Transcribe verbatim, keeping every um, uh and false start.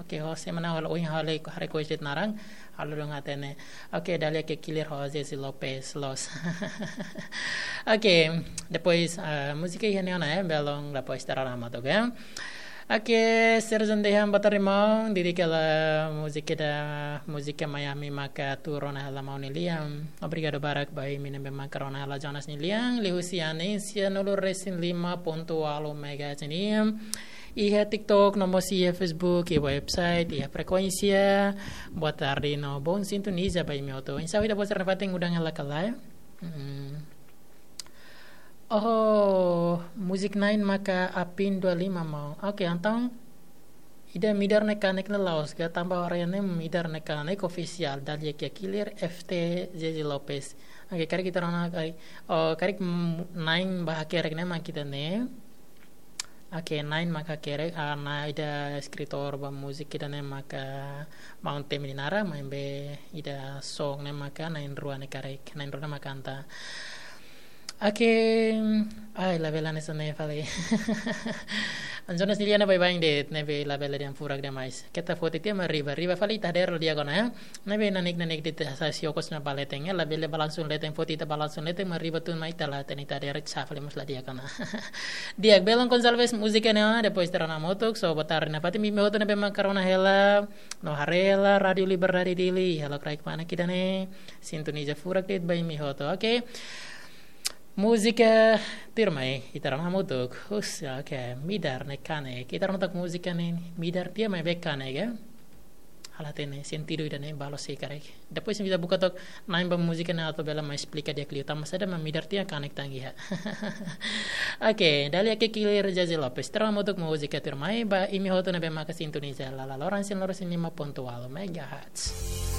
Ke ho semana halo oin hale ko hare ko jet narang, halo dong hatene. Oke, Dahlia Kekillir ho Jezi Lopes, loos. Oke, depois, eh, múzika iha ne'e ona, eh, belun, depois terora matuk, eh. Oke, Sergio Dehan, boa tarde, maun. Dedika hela múzika ida, múzika Miami maka tuur ona hela maun Nilian. Obrigadu barak ba imi ne'ebé maka rona hela Jonas Nilian, liuhusi Anesia nulu resin lima pontu ualu megahertz nian. Iha TikTok, no mós iha Facebook, iha website, iha frekuénsia. Boa tarde no bom sintoniza ba imi hotu. Oinsá ida-ne'e, boa tarde, fatin udan hela ka lae. Hmm. Oh, musik na'in maka Apin dua lima, maun. Oke, entaun ida Midar Ne'e Kanek ne'e la'ós ka, tanba ora ne'e Midar Ne'e Kanek ofisiál, Dahlia Kekillir, F T, Jezi Lopes. Oke, karik ita rona karik, oh, karik, mm, na'in ba hakerek ne'e mak ida-ne'e. Oke, na'in maka hakerek, ah, na'in ida eskritór ba múzika ida-ne'e maka maun Temi Dinara, maibé ida song ne'e maka na'in rua ne'e karik, na'in rua ne'e mak kanta. Oke, ai, labele hanesan ne'e fali. Jonas Nilian, baibain de'it, ne'ebé labele dehan furak demais. Keta foti tiha mak riba, riba fali ita hadeer di'ak ona, ya. Ne'ebé nanik-nanik de'it, sa siokos na baleten, ya, labele balansu leten, foti ita balansu leten, mak riba tun mai ita la hatene ita hadeer, sa fali mós la di'ak ona. Di'ak, belun Gonçalves, múzika ne'e ona, depois terora maun hotu, so boa tarde nafatin ba imi hotu ne'ebé maka rona hela, no haree hela Rádiu Liberdade Dili, halo kraik mana ida-ne'e, sintoniza furak de'it ba imi hotu, oke? Múzika tuirmai, ita rona hamutuk, hus, oke, Midar Ne'e Kanek, ita rona took múzika ne'e, Midar tiha maibé kanek, ya? Halo hatene sentidu ida-ne'e, balu sei karik. Depois ita buka took na'in ba múzika ne'e atu bele mai esplika di'ak liu tanba saida mak Midar tiha kanek tan iha. Oke, Dahlia Kekillir, Jezi Lopes. Terora maun hotu, múzika tuirmai ba imi hotu ne'ebé maka sintoniza hela Lorong Sinloro resin lima pontu ualu megahertz.